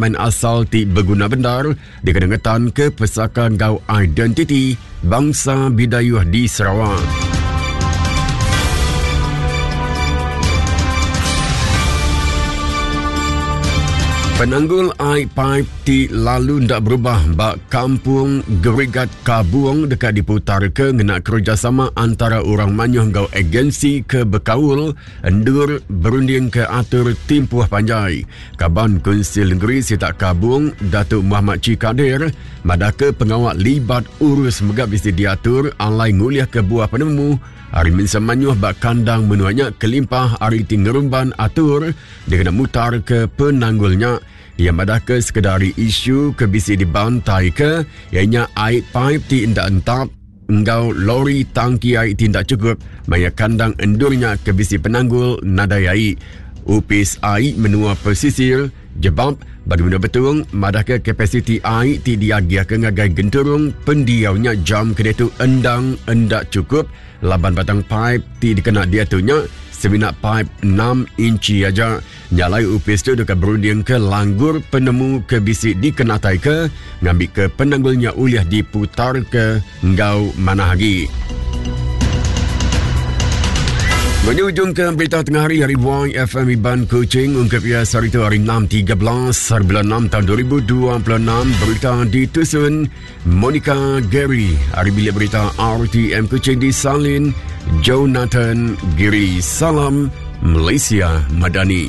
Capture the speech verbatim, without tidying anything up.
main asal ti beguna bendar dikena ngetan ke pesaka enggau identiti bangsa Bidayuh di Sarawak. Penanggul air pipe ti lalu ndak berubah bak kampung Gerigat Kabung dekat diputar ke ngena kerjasama antara orang manyuh ngau agensi ke bekaul endur berunding ke atur timpuh panjai. Kaban Kunsil Negeri Sitak Kabung Datuk Muhammad Chee Kadir madahke pengawal libat urus megap bisi diatur alai nguliah ke buah penemu hari mensa manyuh bak kandang menuanya kelimpah hari tingerumban atur dikena mutar ke penanggulnya. Ia madah ke sekedar isu ke bisi dibantai ke ianya air pipe ti ndak entap enggau lori tangki air ti ndak cukup maya kandang endurnya ke bisi penanggul nadai air. Upis air menua pesisir jebab bagi menua betung madah ke kapasiti air ti diagiah ke ngagai genturung pendiaunya jam kedetu endang endak cukup laban batang pipe ti dikena dia tu nya semina pipe enam inci aja. Nyalai upis tu dekat berunding ke langgur penemu ke bisi dikenatai ke ngambil ke penanggulnya uliah diputar ke enggau mana lagi. Menuju ke berita tengah hari hari Y F M Iban Kuching ungkap ia sehari itu hari enam tiga belas bulan enam tahun dua ribu dua puluh enam. Berita ditusun Monica Gary. Hari bilik berita R T M Kuching disalin Jonathan Giri. Salam Malaysia Madani.